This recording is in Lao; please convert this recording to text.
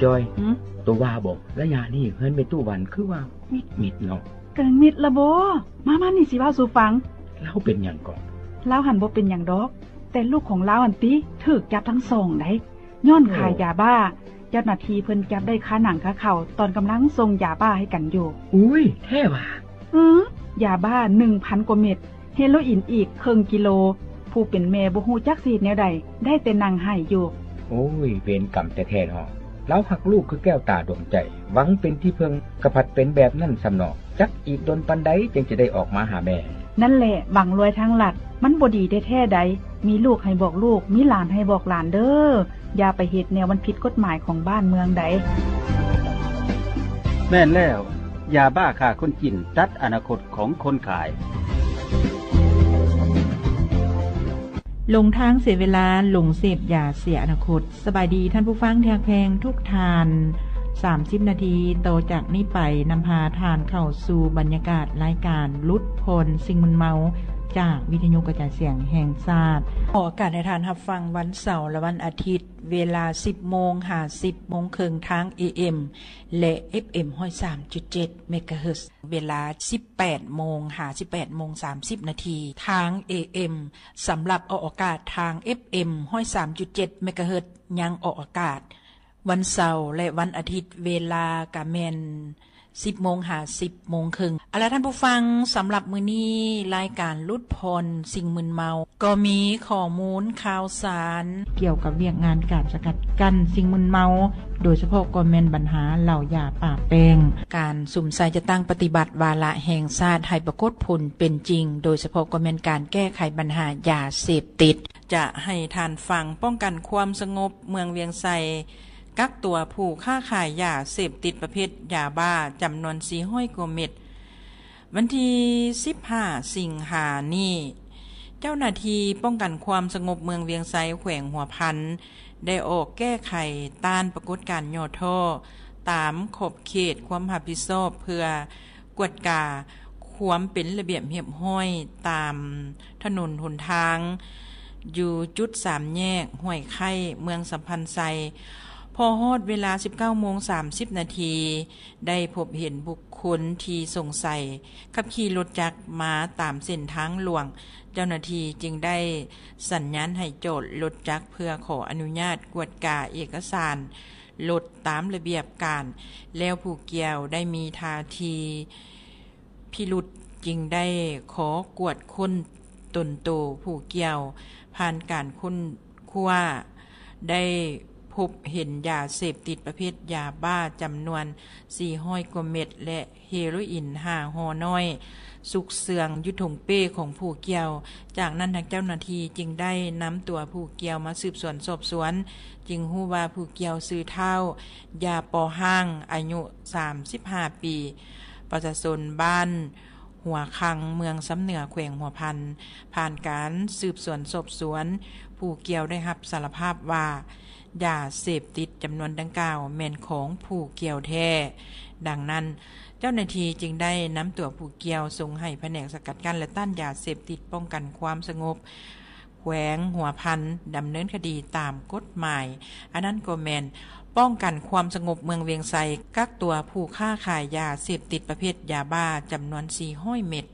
ຈອຍ ຫື? ໂຕວ່າບໍ່ ໄລຍະນີ້ເຮືອນແມ່ຕູ້ວັນຄືວ່າມິດໆເນາະ. ກະມິດລະບໍ? ມາໆ ນີ້ຊິເວົ້າສູ່ຟັງ. ລາວເປັນຫຍັງເກາະ? ລາວຫັ້ນບໍ່ເປັນຫຍັງດອກ, ແຕ່ລູກຂອງລາວຫັ້ນຕິ ຖືກຈັບທັງສອງໃດ໋ ຍ້ອນຂາຍຢາບ້າ. ເຈົ້າໜ້າທີ່ເພິ່ນຈັບໄດ້ຄາໜັງຄາເຂົ້າ ຕອນກຳລັງສົ່ງຢາບ້າໃຫ້ກັນຢູ່. ອຸ້ຍ ແທ້ຫວາ? ອື ຢາບ້າໜຶ່ງພັນກວ່າເມັດ, ເຮໂລອີນອີກເຄິ່ງກິໂລ. ຜູ້ເປັນແມ່ບໍ່ຮູ້ຈັກຊິເຮັດແນວໃດ, ໄດ້ແຕ່ນັ່ງໄຫ້ຢູ່. ໂອ້ຍ ເວນກຳແທ້ໆເນາະ. ລາວຮັກລູກຄືແກ້ວຕາດວງໃຈ, ຫວັງເປັນທີ່ເພິ່ງ, ກະພັດເປັນແບບນັ້ນຊ້ຳເນາະ. ຈັກອີກດົນປານໃດຈຶ່ງຈະໄດ້ອອກມາຫາແມ່? ນັ້ນແຫຼະ ຫວັງລວຍທາງລັດ, ມັນບໍ່ດີແທ້ໆໃດ໋. ມີລູກໃຫ້ບອກລູກ, ມີຫຼານໃຫ້ບອກຫຼານເດີ້. ຢ່າໄປເຮັດແນວມັນຜິດກົດໝາຍຂອງບ້ານເມືອງໃດ໋. ແມ່ນແລ້ວ, ຢາບ້າຂ້າຄົນຈີນ ຕັດອະນາຄົດຂອງຄົນຂາຍ. ຫຼົງທາງເສຍເວລາ, ຫຼົງເສບຢາເສຍອະນາຄົດ. ສະບາຍດີທ່ານຜູ້ຟັງທີ່ຮັກແພງທຸກທ່ານ. ສາມສິບນາທີຕໍ່ຈາກນີ້ໄປ ນຳພາທ່ານເຂົ້າສູ່ບັນຍາກາດລາຍການຫຼຸດຜ່ອນສິ່ງມຶນເມົາ ຈາກວິທະຍຸກະຈາຍສຽງແຫ່ງຊາດ. ອອກອາກາດໃຫ້ທ່ານຮັບຟັງວັນເສົາ ແລະ ວັນອາທິດ ເວລາສິບໂມງຫາສິບໂມງເຄິ່ງ ທາງ ເອເອັມ ແລະ ເອັຟເອັມ ຮ້ອຍສາມຈຸດເຈັດ ເມກາເຮີດ, ເວລາສິບແປດໂມງຫາສິບແປດໂມງສາມສິບນາທີ ທາງ ເອເອັມ. ສຳລັບອອກອາກາດທາງ ເອັຟເອັມ ຮ້ອຍສາມຈຸດເຈັດ ເມກາເຮີດ ຍັງອອກອາກາດວັນເສົາ ແລະ ວັນອາທິດ, ເວລາກະແມ່ນສິບໂມງຫາສິບໂມງເຄິ່ງ. ເອົາລະທ່ານຜູ້ຟັງ, ສຳລັບມື້ນີ້ລາຍການຫຼຸດຜ່ອນສິ່ງມຶນເມົາ ກໍມີຂໍ້ມູນຂ່າວສານກ່ຽວກັບວຽກງານການສະກັດກັ້ນສິ່ງມຶນເມົາ, ໂດຍສະເພາະກໍແມ່ນບັນຫາເຫຼົ້າຢາປາແປ້ງ. ການສຸມໃສ່ຈັດຕັ້ງປະຕິບັດວາລະແຫ່ງຊາດໃຫ້ປາກົດຜົນເປັນຈິງ, ໂດຍສະເພາະກໍແມ່ນການແກ້ໄຂບັນຫາຢາເສບຕິດ. ຈະໃຫ້ທ່ານຟັງ, ປ້ອງກັນຄວາມສະຫງົບເມືອງວຽງໄຊ ກັກຕົວຜູ້ຄ້າຂາຍຢາເສບຕິດປະເພດຢາບ້າຈຳນວນສີ່ຮ້ອຍກວ່າເມັດ. ວັນທີສິບຫ້າ ສິງຫານີ້, ເຈົ້າໜ້າທີ່ປ້ອງກັນຄວາມສະຫງົບເມືອງວຽງໄຊ ແຂວງຫົວພັນ ໄດ້ອອກແກ້ໄຂຕ້ານປາກົດການຫຍໍ້ທໍ້ ຕາມຂອບເຂດຄວາມຮັບຜິດຊອບ ເພື່ອກວດກາຄວາມເປັນລະບຽບຮຽບຮ້ອຍຕາມຖະໜົນຫົນທາງ ຢູ່ຈຸດສາມແຍກຫ້ວຍໄຄ້ ເມືອງສຳພັນໄຊ. ພໍຮອດເວລາສິບເກົ້າໂມງສາມສິບນາທີ ໄດ້ພົບເຫັນບຸກຄົນທີ່ສົງໄສຂັບຂີ່ລົດຈັກມາຕາມເສັ້ນທາງຫຼວງ. ເຈົ້າໜ້າທີ່ຈຶ່ງໄດ້ສັນຍານໃຫ້ຈອດລົດຈັກເພື່ອຂໍອະນຸຍາດກວດກາເອກະສານລົດຕາມລະບຽບການ, ແລ້ວຜູ້ກ່ຽວໄດ້ມີທ່າທີພິລຸດ, ຈຶ່ງໄດ້ຂໍກວດຄົ້ນຕົນໂຕຜູ້ກ່ຽວ. ຜ່ານການຄົ້ນຄວ້າ ໄດ້ພົບເຫັນຢາເສບຕິດປະເພດຢາບ້າຈຳນວນສີ່ຮ້ອຍກວ່າເມັດ ແລະ ເຮໂຣອິນຫ້າຫໍ່ນ້ອຍ ຊຸກເຊື່ອງຢູ່ຖົງເປ້ຂອງຜູ້ກ່ຽວ. ຈາກນັ້ນ ທາງເຈົ້າໜ້າທີ່ຈຶ່ງໄດ້ນຳຕົວຜູ້ກ່ຽວມາສືບສວນສອບສວນ, ຈຶ່ງຮູ້ວ່າຜູ້ກ່ຽວຊື່ທ້າວ ຢາປໍຮ່າງ ອາຍຸສາມສິບຫ້າປີ, ປະຊາຊົນບ້ານຫົວຄັງ ເມືອງຊຳເໜືອ ແຂວງຫົວພັນ. ຜ່ານການສືບສວນສອບສວນ, ຜູ້ກ່ຽວໄດ້ຮັບສາລະພາບວ່າ ຢາເສບຕິດຈຳນວນດັ່ງກ່າວແມ່ນຂອງຜູ້ກ່ຽວແທ້. ດັ່ງນັ້ນ, ເຈົ້າໜ້າທີ່ຈຶ່ງໄດ້ນຳຕົວຜູ້ກ່ຽວສົ່ງໃຫ້ພະແນກສະກັດກັ້ນ ແລະ ຕ້ານຢາເສບຕິດ ປ້ອງກັນຄວາມສະຫງົບ ແຂວງຫົວພັນ ດຳເນີນຄະດີຕາມກົດໝາຍ. ອັນນັ້ນກໍແມ່ນປ້ອງກັນຄວາມສະຫງົບເມືອງວຽງໄຊ ກັກຕົວຜູ້ຄ້າຂາຍຢາເສບຕິດປະເພດຢາບ້າຈຳນວນສີ່ຮ້ອຍເມັດ.